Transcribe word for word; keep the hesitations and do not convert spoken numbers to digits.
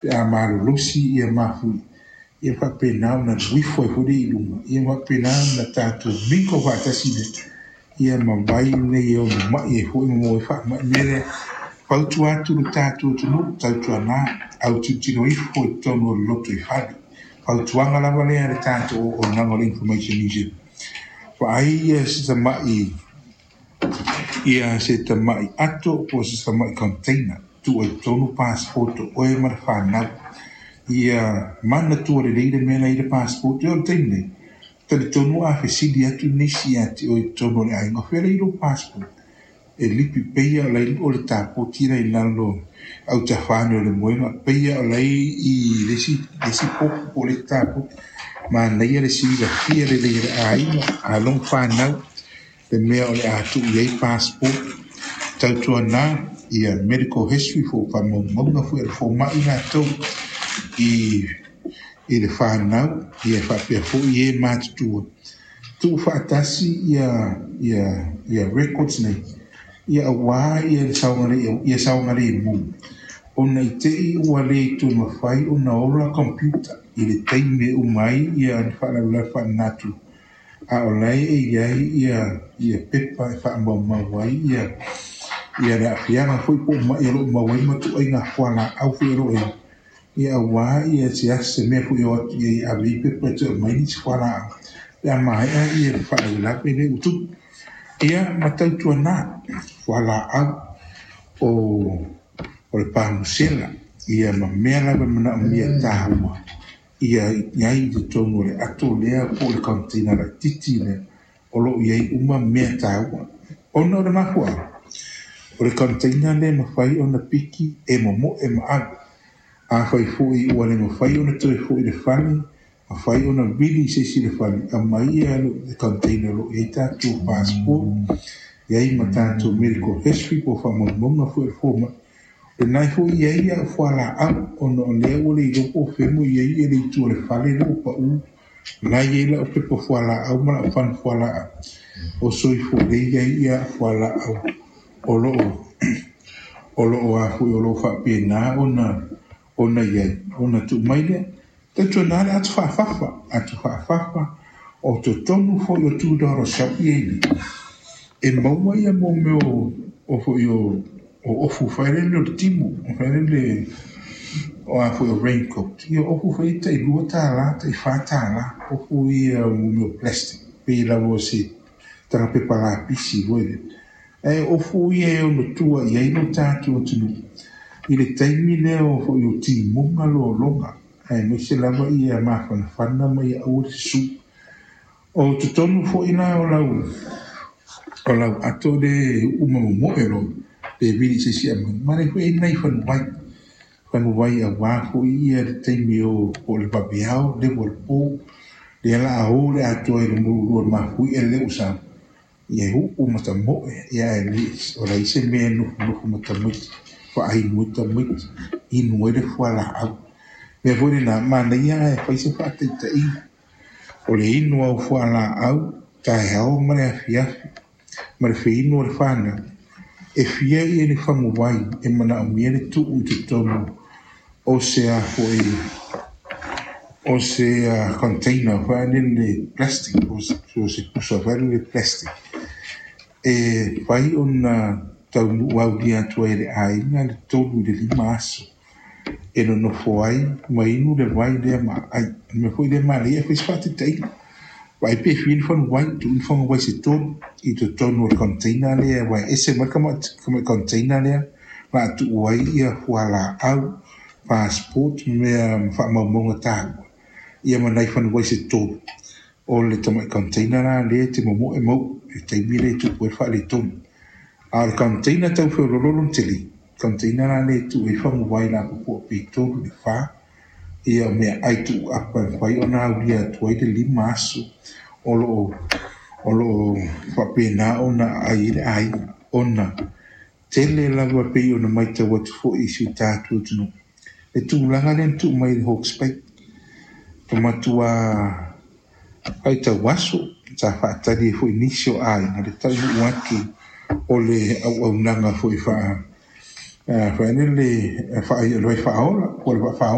Pe a malolosi ia mafui ia faapena ona uifo ai foi le i luga ia faapena ona tatou miko faatasi le ia ma vai nei e ono mai ai foi ma maua ai faamai. Mea lea, fautua atu le tatou atunuu, tautuana autilotilo ifo i totonu o le lotoifale. Fautuaga lava lea a le tatou auaunaga o le Information News. Vaai ia se tamai ia se tamai ato po o se tamai container tuu ai totonu passport o oe ma le fanau. Ia manatua lelei le mea la i le passport. O le taimi nei, talitonu a fesili atu nisi ia te oe i totonu o le aiga, o fea la i lou passport? E lipi peia o lai o le tapoti la i lalo autafane o le moega peia o lai i le isi le isi popu po o le isi tapoti. Manaia le silafia lelei e le aiga alo ma fanau le mea o le a tuu i ai passport. Tautuana ia medical history fo faamaumauga foi a le fomai latou i i le fanau ia faapea foi e matutua tuufaatasi ia ia ia records nei ia auā ia le saogalemu ia saogalemu ona i te i ua le toe mafai ona ola computer i le taimi e uma ai ia le faalavelave faalenatura a o la e i ai ia ia pepa e faamaumau ai ia ia le aafiaga foi po o mai o loo maua ai ma tuuaiga fualaau foi o loo i ia auā ia se ase mea foi o atu i ave i pepa e toe aumai nisi fualaau pe a maea ia le faalavelave lea ua tupu ia ma tautuana fualaau o o le pamusela ia ma mea lava e manaomia taua ia i ai i totonu o le ato lea po o le container laitiiti lea o loo i ai uma mea taua ona o le mafuaaga o le container lea e mafai ona piki e momoe ma ave. Afai foi ua le mafai ona toe foi i le fale, mafai ona vili i se isi le fale, aumai ia le container o loo i ai tatou passport, i ai ma tatou medical history po o faamaumauga foi a le fomai. Lena foi i ai au fualaau ona o lea ua le iloa po o fea mo i ai le itu o le fale lea ua pau. La i ai lau pepa fualaau ma lau fana fualaau o soifua lelei ai ia fualaau o loo o loo a foi o loo faapena ona ona i ai ona tuu mai lea. Tautuana le atu faafafa atu faafafa o totonu foi o two dollar shop ia i e maua ia mo mea o o foi o o ofu fai le o le timu fai le o a foi o raincoat ia ofu foi tai lua tālā tai whā tālā ofu ia mo mea o plastic pe lava o se taga pepa lapisi foi le e ofu ia e ono tua i ai lo tatou atunuu i le taimi lea o foi o timuga lologa aemaise lava ia mafanafana ma ia aua le susu o totonu foi la o lau o lau ato le uma momoe lo pe vili se isi aumai ma le foi nai fanuai fanuai auā foi ia le taimi o po o le vaveao le ua le po lea la a o le atoa i le mululua mafui e le ua ia uu ma tamoe ia e le o lai se mea nofonofo ma tamaiti faainu ai tamaiti inu ai le fualaau. Mea foi lena manaia e fai se faataitaiga o le inu au fualaau taeao ma le afiafi ma le feinu o le fanau e fia ia le faguai e manaomia le tuu i totonu o se a foi o se uh, container foi le plastic o se, o se pusa foi le plastic e fai ona taunuu aulia atu ai e le aiga le tolu i le lima aso e nonofo ai ma inu le vai lea ma ai. Mea foi lea manaia e fai se faataitaiga vaai pe fia ni faguai tuu ni faguai se tolu i totonu o le container lea ua ese mai le container lea la tuu ai ia fualaau passport mea ma faamaumauga taua ia ma nai fanuai se tolu o le tamai container la lea te momoe mau i taimi lea e tupu ai le faaletonu. A o le container tau feolololo tele container la lea e tuu ai faguai lapopoa pe tolu le fa ia o mea ai tuu apa e mafai ona aulia atu ai le lima aso o loo o loo faapena ona aai ai le aiga ona tele lava pei ona matau atu foi i si o tatou atunuu le tulaga lea na tuu mai i le Hawke's Bay e matua faitau aso sa faatali ai foi nisi o aiga le taunuu atu o le auaunaga foi faa Foi le faaola po o le vaa.